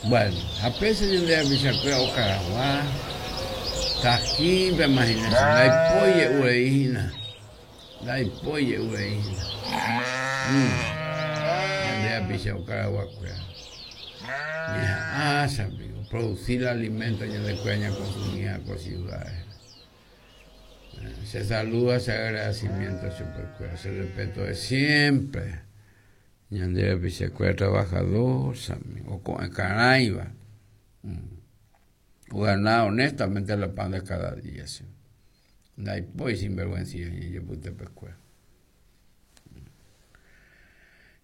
Bueno, ha péicha ñande rapichakuéra okaragua, Tajín pemahina che, ndaipói je'u rei hína, ndaipói je'u rei hína. Ñande rapicha okaraguakuéra. Ñeha'ã chamigo, producir alimento ñandekuéra ñakonsumíva ko ciudad-re. Che saludo ha che agradecimiento chupekuéra, che respeto de siempre. Ñande rapichakuéra trabajador, chamigo, oko'ẽ karãiva. Ogana honestamente la pan de cada día, sí. Ndaipói sinvergüencilla ñandejepytepekuéra.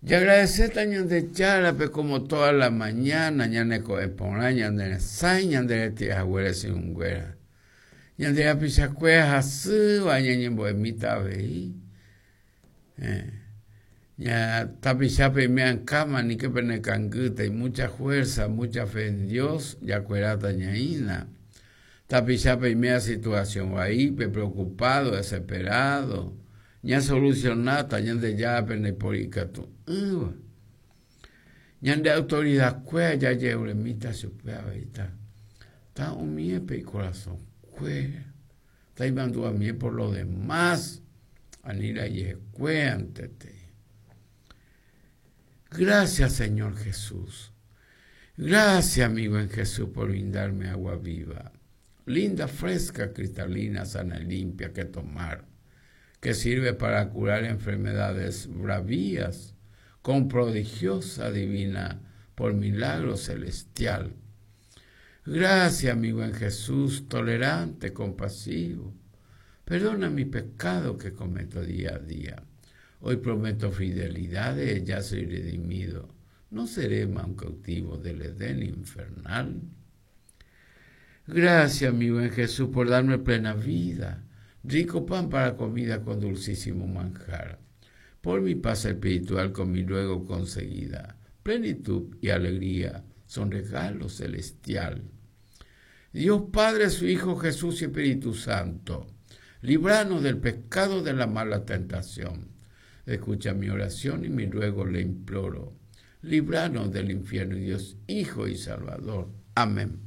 Jagradecéta Ñandejárape como toda la mañana ñane ko'ẽ porã, ñane resãi, ñande reti'a haguére syrũnguéra. Ñande rapichakuéra hasýva ñañembo'emíta avei. Ña tapicha peime ankãma aníke pene kangýta, mucha fuerza, mucha fe en Dios, jakueráta ñaína. Tapicha peime situación vaípe, preocupado, desesperado, ñasolucionáta Ñandejára pende póri ikatu'ỹva. Ñande autoridad kuéra jajeruremíta chupe avei ta, ta umíepe ikorasõ kuéra, ta imandu'amie por lo demás, ani la ijehekuéantete. Gracias Señor Jesús. Gracias mi buen Jesús por brindarme agua viva, linda, fresca, cristalina, sana y limpia que tomar, que sirve para curar enfermedades bravías con prodigiosa divina por milagro celestial. Gracias, mi buen Jesús, tolerante, compasivo. Perdona mi pecado que cometo día a día. Hoy prometo fidelidad, ya soy redimido. No seré más un cautivo del Edén infernal. Gracias, mi buen Jesús, por darme plena vida, rico pan para comida con dulcísimo manjar. Por mi paz espiritual con mi luego conseguida. Plenitud y alegría son regalo celestial. Dios Padre, su Hijo Jesús y Espíritu Santo, libranos del pecado de la mala tentación. Escucha mi oración y mi ruego le imploro. Libranos del infierno, Dios, Hijo y Salvador. Amén.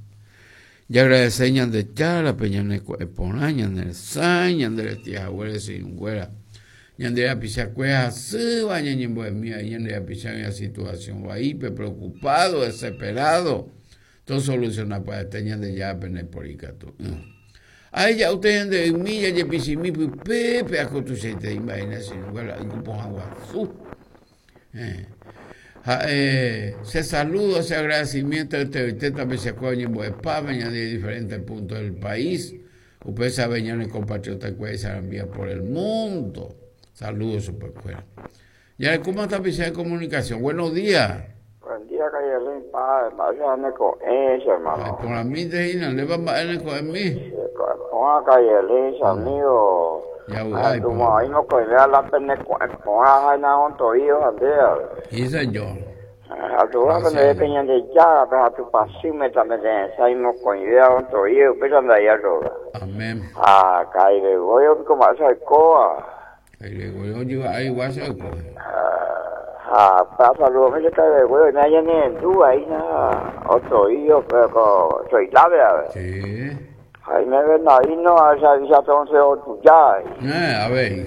Jagradece Ñandejárape ñane ko'ẽ porã, ñane resãi, ñande retĩ haguére che irũnguéra. Ñande rapichakuéra hasýva ñañembo'emíva ñande rapicha oĩva situación vaípe, preocupado, desesperado. Tosoluciona pya'ete Ñandejárape naiporikatu'ỹ. Aheja usted ñande ymi jajepichimi pype pe ako tuichaitei mba'e che irũnguéra yku pohã guasu. Ha'e che saludo, che agradecimiento enteroite tapichakuéra oñembo'epáva ñande diferentes puntos del país. Upéicha avei ñane compatriota-kuéra isarambíva por el mundo. Saludo chupekuéra. Jarekóma tapicha de comunicación. Buenos días. Buen día, calle Rin, pa, mba'éicha ne ko'ẽ, che hermano. Ay, porãmínte hína, ndépa mba'e ne ko'ẽmi? Ko'ẽ porã, calle Rin, che amigo. Javy'a iporã. Oĩ mokõive la pene ko'ẽ porã ha inaontoído ha nde ave. Sí, señor. Aduha pende pe Ñandejárape ha Tupãsýme tapete'ẽsãi mokõive aontoído upéicha ndai arroga. Amén. Ha ka'i Gregorio piko mba'éicha oikóva. Ka'i Gregorio ojyva'ái guáicha oiko. Ha pa saludo che ka'i Gregorio oime ñanerendu aína otoído pe ko Soilápe ave. Sí. Jaime Bernardino avisatonse otuja. Eh, avei.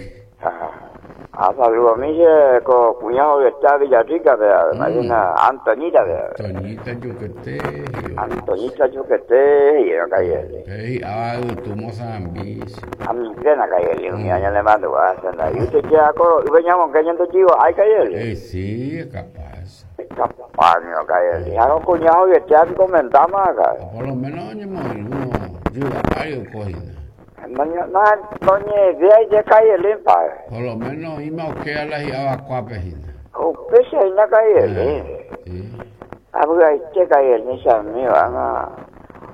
Ah, saludo a mí che ko kuña hovyeta Villarrica pe ave, imagina Antoñita pe ave. Antoñita Yuquete. Antoñita Yuquete hi'éva calle. Pe hi'áva yvytu Mozambique. Amigena calle umi año le mandu'a che nda. Y usted ya ko yve ñamonge ñande jivo ay calle. Eh, sí, es capaz. Es capaz, no calle. Ha ko kuña hovyeta comentama acá. Por lo menos oñemoirũ yvy'a ári oiko hína. Noñe'ẽvéi je Kaielén padre. Por lo menos oĩma okéva la hi'avakuápe hína. Upéicha hína Kaielén. Avy'aite Kaielén che amigo ág̃a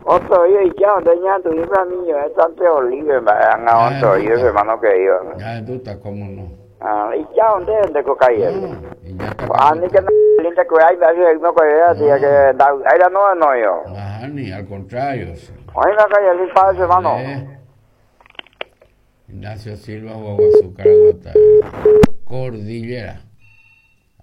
oto'i oija onde ñandu'i pra mi ño'ẽ Sante Olive mba'e ág̃a oto'i ese hermano querido. Ñahendúta cómo no. Ija onde nde ko Kaielén. Aníke na ndekuerái mba'e oikovéva que ndavy'ái la nohenóivo. Nahániri, al contrario. Oĩma Kaielén padre hermano. Ignacio Silva Guaguasu Caraguatá. Cordillera.